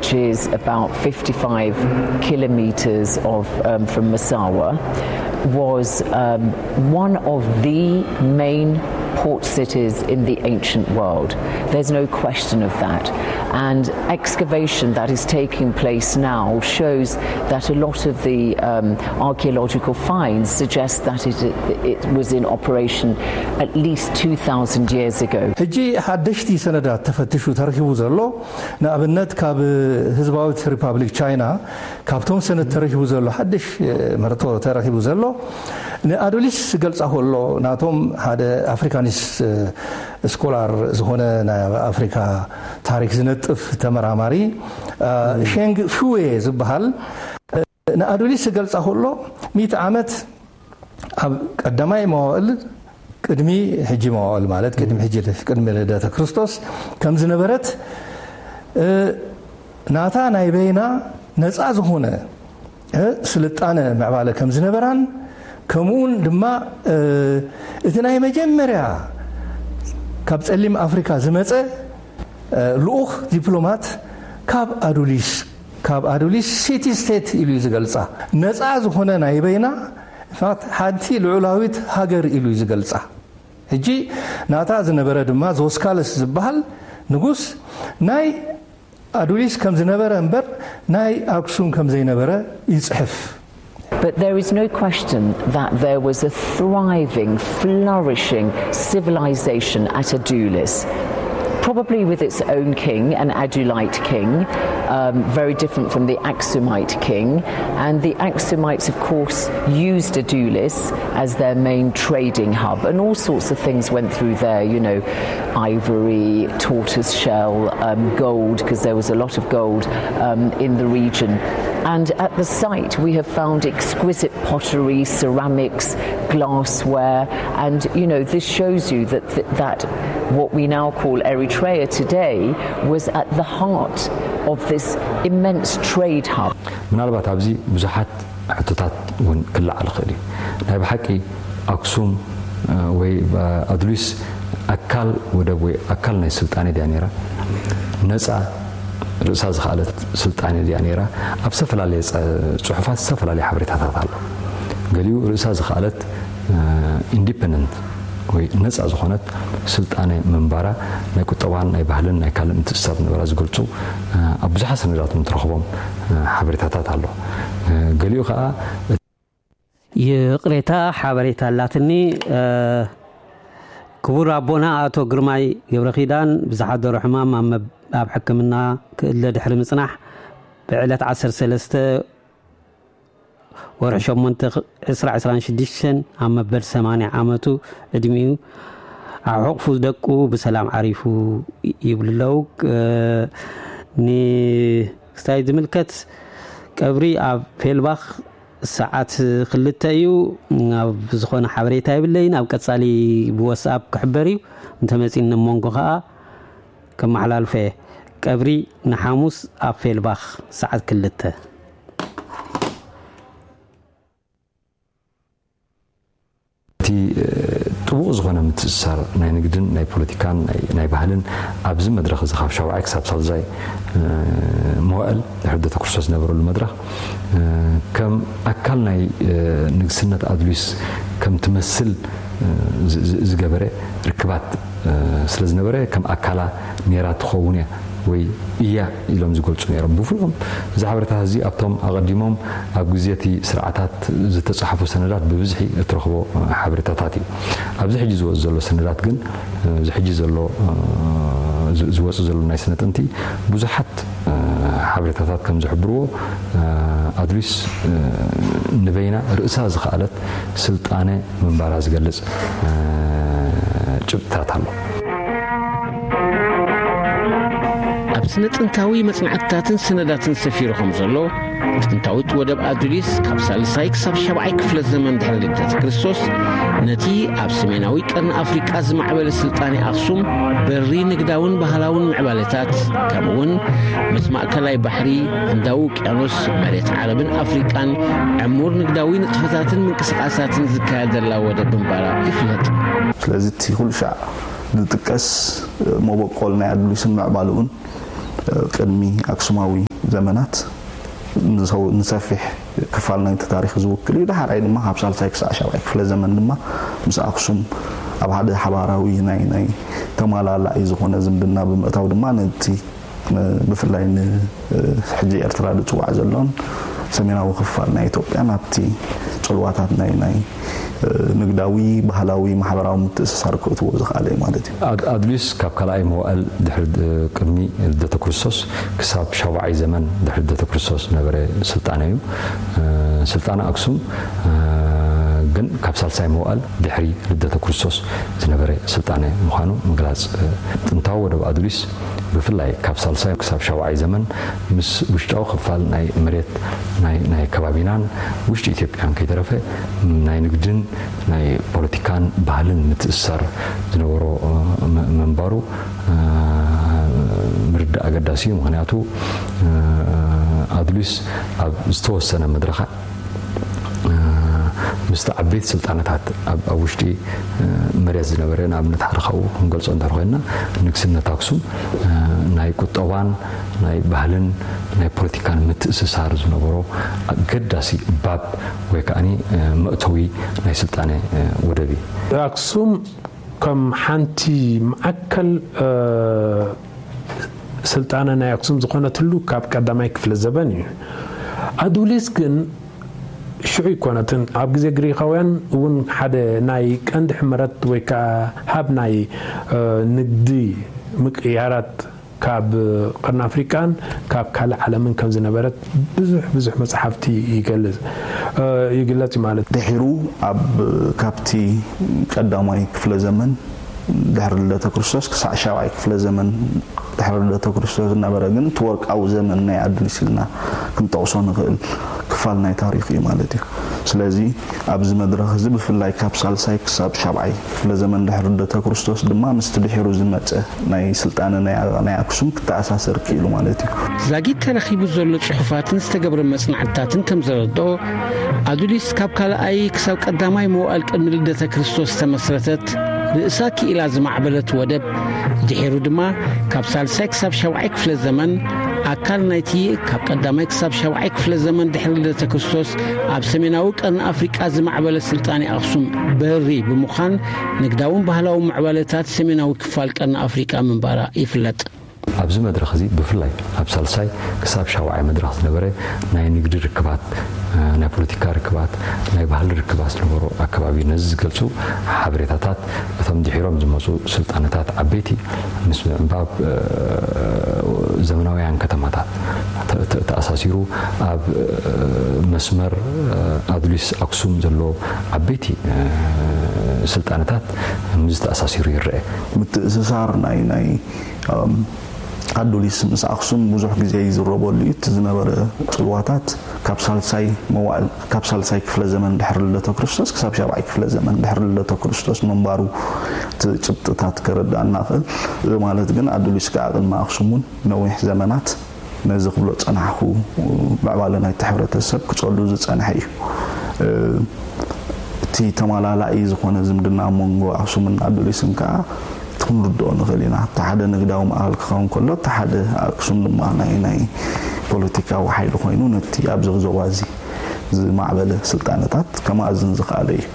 which is about fifty-five kilometers of, um, from Massawa, was, um, one of the main port cities in the ancient world. There's no question of that. And excavation that is taking place now shows that a lot of the, um, archaeological finds suggest that it, it was in operation at least two thousand years ago. ሕጂ ሓደሽቲ ሰነዳት ተፈትሹ ተረኪቡ ዘሎ፣ ንኣብነት ካብ ህዝባዊት ሪፓብሊክ ቻይና ካብቶም ሰነድ ተረኪቡ ዘሎ ሓድሽ መርቶ ተረኪቡ ዘሎ፣ ንኣዱሊስ ዝገልጻ ከሎ፣ ናቶም ሓደ ኣፍሪካኒስ ስኮላር ዝኾነ ናይ ኣፍሪካ ታሪክ ዝነጥፍ ተመራማሪ፣ ሸንግ ፉዌ ዝበሃል፣ ንኣዱሊስ ዝገልጻ ከሎ፣ ሚእቲ ዓመት ኣብ ቀዳማይ መዋእል፣ ቅድሚ ሕጂ መዋእል ማለት ቅድሚ ሕጂ፣ ቅድሚ ልደተ ክርስቶስ ከም ዝነበረት፣ ናታ ናይ በይና ነጻ ዝኾነ ስልጣነ ምዕባለ ከም ዝነበራን፣ ከምኡውን ድማ እቲ ናይ መጀመርያ ካብ ጸሊም ኣፍሪካ ዝመጸ ልኡኽ ዲፕሎማት ካብ ኣዱሊስ፣ ካብ ኣዱሊስ ሲቲ ስቴት ኢሉ እዩ ዝገልጻ። ነጻ ዝኾነ ናይ በይና፣ ሓንቲ ልዑላዊት ሃገር ኢሉ እዩ ዝገልጻ። ሕጂ ናታ ዝነበረ ድማ ዞስካለስ ዝበሃል ንጉስ ናይ ኣዱሊስ ከም ዝነበረ እምበር ናይ ኣክሱም ከም ዘይነበረ ይጽሕፍ። But there is no question that there was a thriving, flourishing civilization at Adulis, probably with its own king, an Adulite king, um, very different from the Aksumite king. And the Aksumites, of course, used Adulis as their main trading hub, and all sorts of things went through there, you know, ivory, tortoise shell, um, gold, because there was a lot of gold, um, in the region. And at the site, we have found exquisite pottery, ceramics, glassware, and, you know, this shows you that, that, that what we now call Eritrea today was at the heart of this immense trade hub. ምናልባት ኣብዚ ብዙሓት ሕቶታት እውን ክለዓል ይኽእል እዩ። ናይ ብሓቂ ኣክሱም ወይ ኣድሊስ ኣካል ወደብ ወይ ኣካል ናይ ስልጣኔ ድያ ነይራ? ነፃ ርእሳ ዝኸኣለት ስልጣኔ ድያ ነይራ? ኣብ ዝተፈላለየ ፅሑፋት ዝተፈላለየ ሓበሬታታት ኣሎ። ገሊኡ ርእሳ ዝኸኣለት ኢንዲፐንደንት ወይ ነፃ ዝኾነት ስልጣነ ምንባራ ናይ ቁጠባን ናይ ባህልን ናይ ካልእ ምትእስሳር ዝነበራ ዝገልፁ ኣብ ብዙሓት ሰነዳት ንትረኽቦም ሓበሬታታት ኣሎ። ገሊኡ ከዓ ይቕሬታ ሓበሬታ ኣላትኒ። ክቡር ኣቦና ኣቶ ግርማይ ገብረኺዳን ብዝሓደሮ ሕማም ኣብ ሕክምና ክእለ ድሕሪ ምጽናሕ ብዕለት ዓሰርተ ሰለስተ ወርሒ ሸሞንተ ዕስራ ዕስራን ሽዱሽተን ኣብ መበል ሰማንያ ዓመቱ ዕድሚኡ ኣብ ሕቑፉ ደቁ ብሰላም ዓሪፉ ይብሉ ኣለዉ። ንክስታይ ዝምልከት ቀብሪ ኣብ ፌልባኽ ሰዓት ክልተ እዩ። ኣብ ዝኾነ ሓበሬታ የብለይን። ኣብ ቀጻሊ ብወስኣፕ ክሕበር እዩ። እንተመጺኒ መንጎ ኸኣ ከመሓላልፎ እየ። ቀብሪ ንሓሙስ ኣብ ፌልባኽ ሰዓት ክልተ። እቲ ጥቡቕ ዝኾነ ምትእስሳር ናይ ንግድን ናይ ፖለቲካን ናይ ባህልን ኣብዚ መድረኽ እዚ ካብ ሻውዓይ ክሳብ ሳልዛይ መዋእል ድሕሪ ልደተ ክርስቶስ ዝነበረሉ መድረኽ ከም ኣካል ናይ ንግስነት ኣድሊስ ከም ትመስል ዝገበረ ርክባት ስለ ዝነበረ ከም ኣካላ ነይራ ትኸውን እያ ወይ እያ ኢሎም ዝገልፁ ነይሮም። ብፍሉዮም እዚ ሓበሬታታት እዚ ኣብቶም ኣቐዲሞም ኣብ ግዜ እቲ ስርዓታት ዝተፃሕፉ ሰነዳት ብብዝሒ እትረኽቦ ሓበሬታታት እዩ። ኣብዚ ሕጂ ዝወፅ ዘሎ ሰነዳት ግን እዚ ሕጂ ዘሎ ዝወፅ ዘሎ ናይ ስነ ጥንቲ ብዙሓት ሓበሬታታት ከም ዝሕብርዎ ኣድሊስ ንበይና ርእሳ ዝኸኣለት ስልጣነ ምንባራ ዝገልፅ ጭብጥታት ኣሎ። ኣብ ስነ ጥንታዊ መጽናዕትታትን ሰነዳትን ሰፊሩ ከም ዘሎ፣ ጥንታዊት ወደብ ኣዱሊስ ካብ ሳልሳይ ክሳብ ሻብዓይ ክፍለ ዘመን ድሕሪ ልደት ክርስቶስ ነቲ ኣብ ሰሜናዊ ቀርኒ ኣፍሪቃ ዝማዕበለ ስልጣኔ ኣኽሱም በሪ ንግዳውን ባህላውን ምዕባለታት ከምኡውን ምስ ማእከላይ ባሕሪ፣ ህንዳዊ ውቅያኖስ፣ መሬት ዓረብን ኣፍሪቃን ዕሙር ንግዳዊ ንጥፈታትን ምንቅስቃሳትን ዝካየደላ ወደብ ምንባራ ይፍለጥ። ስለዚ እቲ ኩሉ ሻዕ ዝጥቀስ መበቆል ናይ ኣዱሊስን ምዕባልኡን ቅድሚ ኣክሱማዊ ዘመናት ንሰፊሕ ክፋል ናይቲ ታሪኽ ዝውክል እዩ። ዳሕራይ ድማ ካብ ሳልሳይ ክሳዕ ሻብዓይ ክፍለ ዘመን ድማ ምስ ኣክሱም ኣብ ሓደ ሓባራዊ ናይ ናይ ተማላላኢ ዝኾነ ዝምድና ብምእታው ድማ ነቲ ብፍላይ ንሕጂ ኤርትራ ዝጽዋዕ ዘሎን ሰሜናዊ ክፋል ናይ ኢትዮጵያ ናብቲ ጽልዋታት ናይ ናይ ንግዳዊ፣ ባህላዊ፣ ማሕበራዊ ምትእስሳር ክእትዎ ዝኽኣለ እዩ ማለት እዩ። ኣድሊስ ካብ ካልኣይ መዋእል ድሕሪ ቅድሚ ልደተ ክርስቶስ ክሳብ ሻብዓይ ዘመን ድሕሪ ልደተ ክርስቶስ ዝነበረ ስልጣነ እዩ። ስልጣነ ኣክሱም ግን ካብ ሳልሳይ መዋእል ድሕሪ ልደተ ክርስቶስ ዝነበረ ስልጣነ ምዃኑ ምግላጽ። ጥንታዊ ወደብ ኣዱሊስ ብፍላይ ካብ ሳልሳይ ክሳብ ሻብዓይ ዘመን ምስ ውሽጣዊ ክፋል ናይ መሬት ናይ ከባቢናን ውሽጢ ኢትዮጵያን ከይተረፈ ናይ ንግድን ናይ ፖለቲካን ባህልን ምትእስሳር ዝነበሮ ምንባሩ ምርዳእ ኣገዳሲ እዩ። ምክንያቱ ኣዱሊስ ኣብ ዝተወሰነ መድረኻ ምስቲ ዓበይቲ ስልጣነታት ኣብ ውሽጢ መሬት ዝነበረ፣ ንኣብነት ሓደ ካብኡ ክንገልጾ እንድሕር ኮይንና ንግስነት ኣክሱም ናይ ቁጠባን ናይ ባህልን ናይ ፖለቲካን ምትእስሳር ዝነበሮ ኣገዳሲ ባብ ወይ ከዓኒ መእተዊ ናይ ስልጣነ ወደብ እዩ። ኣክሱም ከም ሓንቲ ማእከል ስልጣነ ናይ ኣክሱም ዝኾነትሉ ካብ ቀዳማይ ክፍለ ዘበን እዩ። ኣዱሊስ ግን ሽዑ ኣይኮነትን። ኣብ ግዜ ግሪኻውያን እውን ሓደ ናይ ቀንዲ ሕመረት ወይ ከዓ ሃብ ናይ ንግዲ ምቅያራት ካብ ቀርኒ ኣፍሪቃን ካብ ካልእ ዓለምን ከም ዝነበረት ብዙሕ ብዙሕ መጽሓፍቲ ይገልጽ ይግለጽ ማለት። ድሒሩ ኣብ ካብቲ ቀዳማይ ክፍለ ዘመን ድሕሪ ልደተ ክርስቶስ ክሳዕ ሻብዓይ ክፍለ ዘመን ድሕሪ ልደተ ክርስቶስ ዝነበረ ግን እቲ ወርቃዊ ዘመን ናይ ኣዱሊስ ኢልና ክንጠቕሶ ንኽእል ክፋል ናይ ታሪኽ እዩ ማለት እዩ። ስለዚ ኣብዚ መድረኽ እዚ ብፍላይ ካብ ሳልሳይ ክሳብ ሻብዓይ ክፍለ ዘመን ድሕሪ ልደተ ክርስቶስ ድማ ምስቲ ድሒሩ ዝመጸ ናይ ስልጣነ ናይ ኣክሱም ክተኣሳሰር ክኢሉ ማለት እዩ። ዛጊት ተረኺቡ ዘሎ ጽሑፋትን ዝተገብረ መጽናዕትታትን ከም ዘረድኦ ኣዱሊስ ካብ ካልኣይ ክሳብ ቀዳማይ መዋእል ቅድሚ ልደተ ክርስቶስ ዝተመስረተት ርእሳ ክኢላ ዝማዕበለት ወደብ ድሒሩ ድማ ካብ ሳልሳይ ክሳብ ሻብዓይ ክፍለ ዘመን ኣካል ናይቲ ካብ ቀዳማይ ክሳብ ሻብዓይ ክፍለ ዘመን ድሕሪ ልደተ ክርስቶስ ኣብ ሰሜናዊ ቀርኒ ኣፍሪቃ ዝማዕበለ ስልጣኔ ኣኽሱም በሪ ብምዃን ንግዳውን ባህላውን ምዕባለታት ሰሜናዊ ክፋል ቀርኒ ኣፍሪቃ ምንባራ ይፍለጥ። ኣብዚ መድረኽ እዚ ብፍላይ ኣብ ሳልሳይ ክሳብ ሻውዓይ መድረኽ ዝነበረ ናይ ንግዲ ርክባት፣ ናይ ፖለቲካ ርክባት፣ ናይ ባህሊ ርክባት ዝነበሮ ኣከባቢ ነዚ ዝገልጹ ሓበሬታታት እቶም ድሒሮም ዝመጹ ስልጣነታት ዓበይቲ ምስ ምዕንባብ ዘመናውያን ከተማታት ተኣሳሲሩ ኣብ መስመር ኣዱሊስ ኣክሱም ዘሎ ዓበይቲ ስልጣነታት ምስዚ ተኣሳሲሩ ይረአ። ምትእስሳር ናይ ናይ ኣዱሊስ ምስ ኣክሱም ብዙሕ ግዜ ይዝረበሉ እዩ። እቲ ዝነበረ ጽልዋታት ካብ ሳልሳይ መዋእል ካብ ሳልሳይ ክፍለ ዘመን ድሕሪ ልደተ ክርስቶስ ክሳብ ሻብዓይ ክፍለ ዘመን ድሕሪ ልደተ ክርስቶስ ምንባሩ እቲ ጭብጥታት ከረዳእና ይኽእል። እዚ ማለት ግን ኣዱሊስ ከኣ ቅድሚ ኣክሱም እውን ነዊሕ ዘመናት ነዚ ክብሎ ዝጸናሕኩ ምዕባለ ናይቲ ሕብረተሰብ ክጸሉ ዝጸንሐ እዩ። እቲ ተማላላኢ ዝኾነ ዝምድና ኣብ መንጎ ኣክሱምን ኣዱሊስን ከኣ እቲ ክንርድኦ ንኽእል ኢና። እቲ ሓደ ንግዳዊ ማእኸል ክኸውን ከሎ እቲ ሓደ ኣክሱም ድማ ናይ ናይ ፖለቲካዊ ሓይሊ ኮይኑ ነቲ ኣብዚ ዞባ እዚ ዝማዕበለ ስልጣነታት ከማእዝን ዝኸኣለ እዩ።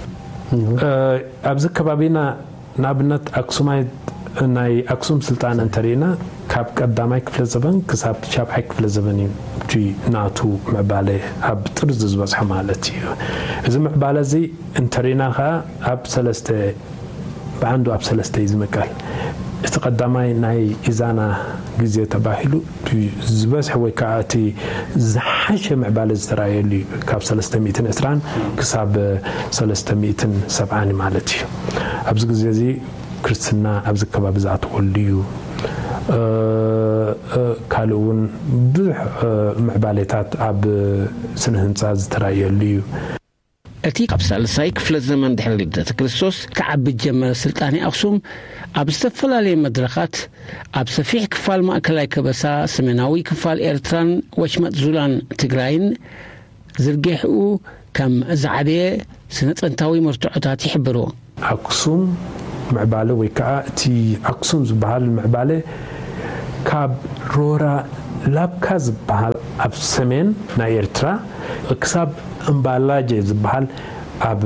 ኣብዚ ከባቢና ንኣብነት ኣክሱማይት ናይ ኣክሱም ስልጣነ እንተሪእና ካብ ቀዳማይ ክፍለ ዘበን ክሳብ ሻብዓይ ክፍለ ዘበን እዩ እቲ ናቱ ምዕባለ ኣብ ጥርዚ ዝበፅሐ ማለት እዩ። እዚ ምዕባለ እዚ እንተሪእና ከዓ ኣብ ሰለስተ ብዓንዱ ኣብ ሰለስተ እዩ ዝምቀል። እቲ ቀዳማይ ናይ ኢዛና ግዜ ተባሂሉ ዝበዝሐ ወይ ከዓ እቲ ዝሓሸ ምዕባለ ዝተረኣየሉ እዩ ካብ ሰለስተ ሚእትን ዕስራን ክሳብ ሰለስተ ሚእትን ሰብዓን ማለት እዩ። ኣብዚ ግዜ እዚ ክርስትና ኣብዚ ከባቢ ዝኣተወሉ እዩ። ካልእ እውን ብዙሕ ምዕባሌታት ኣብ ስነ ህንፃ ዝተረኣየሉ እዩ። እቲ ካብ ሳልሳይ ክፍለ ዘመን ድሕሪ ልደተ ክርስቶስ ክዓቢ ዝጀመረ ስልጣኔ ኣኽሱም፣ ኣብ ዝተፈላለየ መድረኻት፣ ኣብ ሰፊሕ ክፋል ማእከላይ ከበሳ፣ ሰሜናዊ ክፋል ኤርትራን ወሽመጥ ዙላን ትግራይን ዝርግሕኡ ከም ዝዓበየ ስነ-ጥንታዊ መርትዖታት ይሕብሩ። ኣክሱም ምዕባለ ወይ ከዓ እቲ ኣክሱም ዝበሃል ምዕባለ ካብ ሮራ ላብካ ዝበሃል ኣብ ሰሜን ናይ ኤርትራ ክሳብ እምባላጀ ዝበሃል ኣብ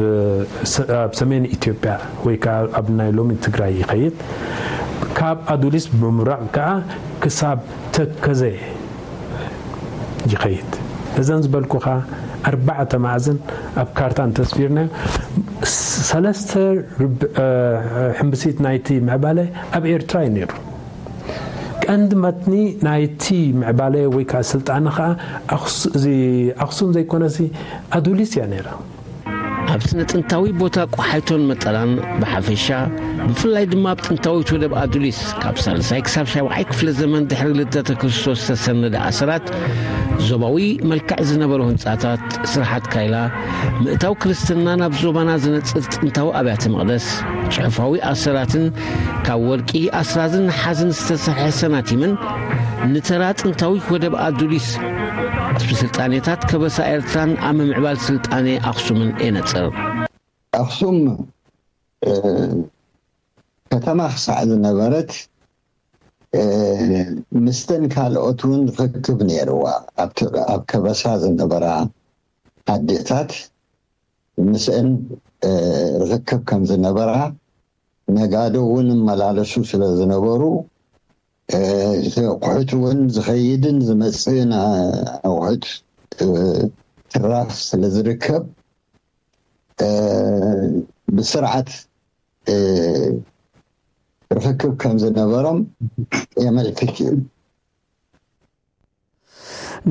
ሰ- ኣብ ሰሜን ኢትዮጵያ ወይ ከዓ ኣብ ናይ ሎሚ ትግራይ ይኸይድ። ካብ ኣዱሊስ ብምብራቕ ከዓ ክሳብ ተከዘ ይኸይድ። እዘን ዝበልኩኻ ኣርባዕተ ማዕዝን ኣብ ካርታ እንተስፊርናዮ፣ ሰለስተ ርብ- ሕምብሲት ናይቲ ምዕባለ ኣብ ኤርትራ እዩ ነይሩ። ቀንዲ መትኒ ናይቲ ምዕባለ ወይ ከዓ ስልጣነ ከዓ ኣኽሱ- እዚ ኣኽሱም ዘይኮነሲ ኣዱሊስ እያ ነይራ። ኣብ ስነ ጥንታዊ ቦታ ቆሓይቶን መጠላን ብሓፈሻ፣ ብፍላይ ድማ ኣብ ጥንታዊት ወደብ ኣዱሊስ ካብ ሳልሳይ ክሳብ ሻብዓይ ክፍለ ዘመን ድሕሪ ልደተ ክርስቶስ ዝተሰነደ ኣሰራት፣ ዞባዊ መልክዕ ዝነበሩ ህንፃታት፣ ስርሓት ካይላ፣ ምእታው ክርስትና ናብ ዞባና ዝነፅር ጥንታዊ ኣብያተ መቕደስ፣ ጽሑፋዊ ኣሰራትን ካብ ወርቂ ኣስራዝን ነሓዝን ዝተሰርሐ ሰናቲምን ንተራ ጥንታዊት ወደብ ኣዱሊስ ኣብ ስልጣኔታት ከበሳ ኤርትራን ኣብ ምምዕባል ስልጣኔ ኣኽሱምን የነጽር። ኣኽሱም እ፣ ከተማ ክሳዕ ዝነበረት እ፣ ምስተን ካልኦት እውን ርክክብ ነይርዋ። ኣብቲ- ኣብ ከበሳ ዝነበራ ኣዴታት ምስአን እ፣ ርክክብ ከም ዝነበራ፣ ነጋዶ እውን እመላለሱ ስለ ዝነበሩ እ፣ ኣቑሑት እውን ዝኸይድን ዝመፅእን ኣቑሑት እ፣ ትራፍ ስለ ዝርከብ እ፣ ብስርዓት እ፣ ርክክብ ከም ዝነበሮም የመልክት እዩ።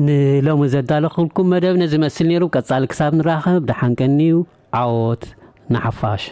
ንሎሚ ዘዳለኹልኩም መደብ ነዚ መስል ነይሩ። ቀጻሊ ክሳብ ንራኸብ ደሓን ቀንዩ። ዓወት ንሓፋሽ።